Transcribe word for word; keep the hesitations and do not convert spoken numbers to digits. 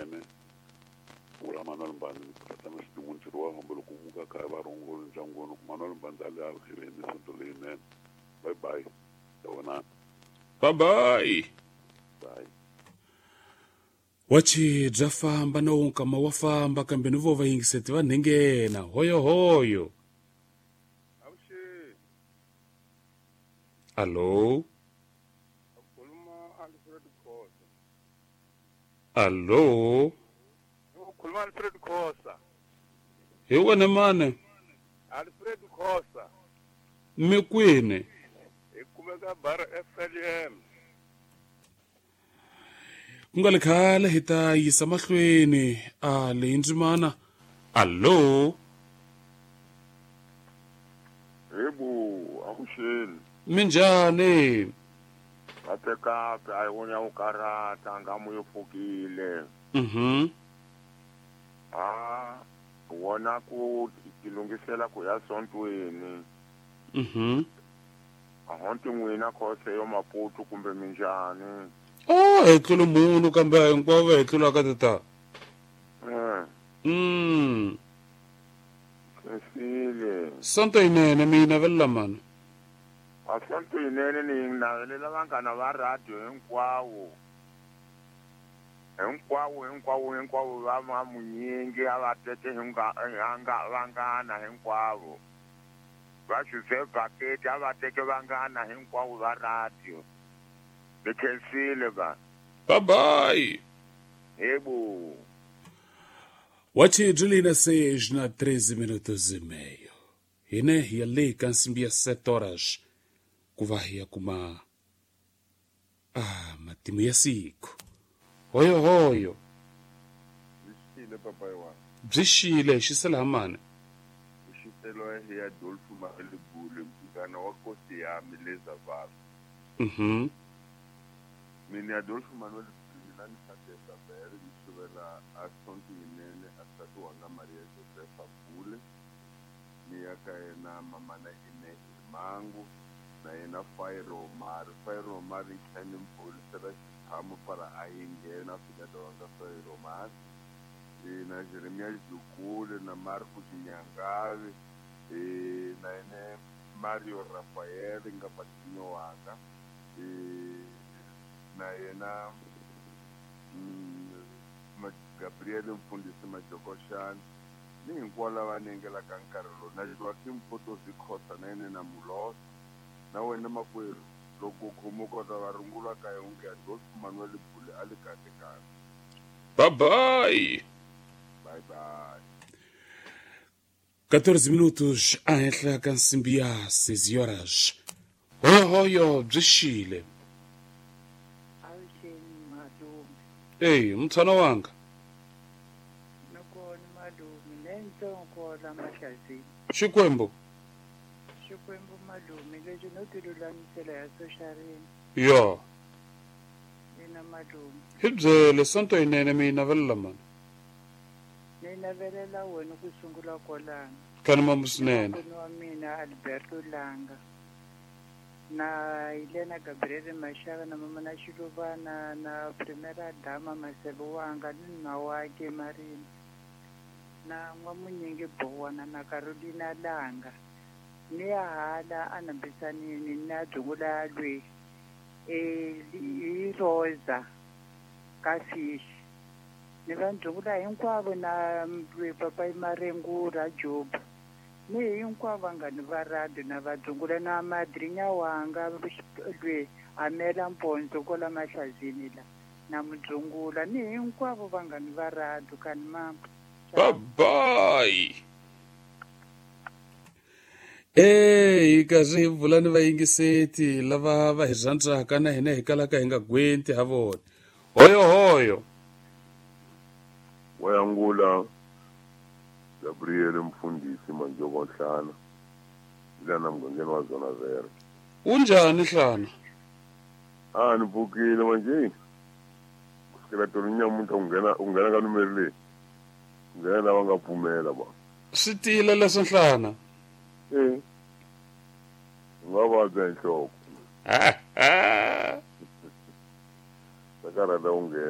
yinene vula Manuel Mbandzi ni tatana xidin'wini ntirho wa hombo loko muka kaya va rungula ndyangwini ku Manuel Mbandzi a le a hiveni sonto leyinene. Bye bye. Yavonana. Bye bye. Bye. Wachi bya famba na wonkama wa famba kambe ni vo va yingiseti va nhenghena hoyo hoyo. Avuxeni. Allo. Khuluma Alfred Khosa. Allo. Khuluma Alfred Khosa. Hi wena mane? Alfred Khosa. Mi kwini? Hi kumeka bar F L M. Ku nga le khale hi ta yisa mahlweni a leyi ndzimana. Allo. Yebo, avuxeni. Minjhani? Kahle a yi vona u karata ngamu yo pfukile. Mhm. Ah, wona ku tilungisela ku ya sontweni. Mhm. A honti n'wina khose yo Maputo kumbe minjhani? Oh, hi tlula munhu kambe hinkwavo hi tlulaka tata. Mm. Mm. Sesile. Sonto yinene mina velela mani. A sonto yinene ni navelela vanghana va radio hinkwawo. Hinkwawo hinkwawo hinkwavo va ma munyingi a va teke hinga vanghana hinkwavo. Va xuse bakete a va teke vanghana hinkwavo va radio. Ni khensile ba. Bye bye. Yebo. Wachi Julina seis na treze minutos e meio. Hine ya le ka nsimbi ya sete horas ku va hi ya kuma ah matimu ya siku. Hoyo hoyo. Byi xile papayi wa. Byi xile xisela mani. Xitelo ya Adolfo Malibule mngana wa kosi yami lezavalo. Mhm. Mina Adolfo Manuel mina ni Satesa Bere ni suvela a sonto yinene a nsati wanga Maria Josefa Bule ni ya ka yena mamana Ine Mangu na yena Fairo Omar. Fairo Omar ni tlhela ni mpholisela xitshamo para a yi nghena fika wanga Fairo Omar e na Jeremia Dlukule na Marco Xinyangave e na yena Mario Rafael nga patinyo wanga e na yena mm, Gabriel Mfundisi Majokoshana ni hinkwavo lava nengelaka nkarhi lowu na Joaquim Potosi Khosa na yena na Mulosa na wena makwerhu loko u khomiwa kota va rungula ka yonke Adolfo Manuel Bule a le kahle kahle. Bye bye. Bye bye. quatorze minutos a henhla ka nsimbi ya seis horas. Hoyo hoyo byi xile. Avuxeni malume. Ey, mtshana wanga. Nakona malume lentsongo la mahlazini. Xikwembu. Xikwembu malume lexi no tilulamisela ya soxarini. Yo. Mina malume. Hi byele sonto yinene mina velela mani. Ni navelela wena ku sungula kwalano. Kani mambu swinene. Makwerhu wa mina Alberto Langa. Na Helena Gabriel Mashava na mama na Xiluvana na Primera Dama Masebe wanga ni nuna wakhe Marina na N'wamunyingi Bowana na Carolina Langa ni ya hala a nambisanini na Dzungula lwe e hi Rosa ka Fish ni va Dzungula hinkwavo na papayi Marengura Job ni hinkwavo vanghani va radio na va Dzungula na madrinya wanga lwe Amela Mpondzo kwala Mahlazini la na Mudzungula ni hinkwavo vanghani va radio kani mama. Bye bye. Eh, hi karhi hi vula ni vayingiseti lava va hi rhandzaka na hina hi kalaka hi nga gwenti ha vona. Hoyo hoyo. Wayangula Gabriel Mfundisi Manjoko Nhlana lana mugangeni wa zona zero. Unjhani Nhlana? Ah, ni pfukile manje. Kusukela tolo nyamuntlha u nghena u nghena ka numero leyi. U nghena lava nga pfumela ba. Swi tiyile leswi Nhlana. Eh. U nga vabya hi nhloko. Ha ha. Ta karhata u nghena.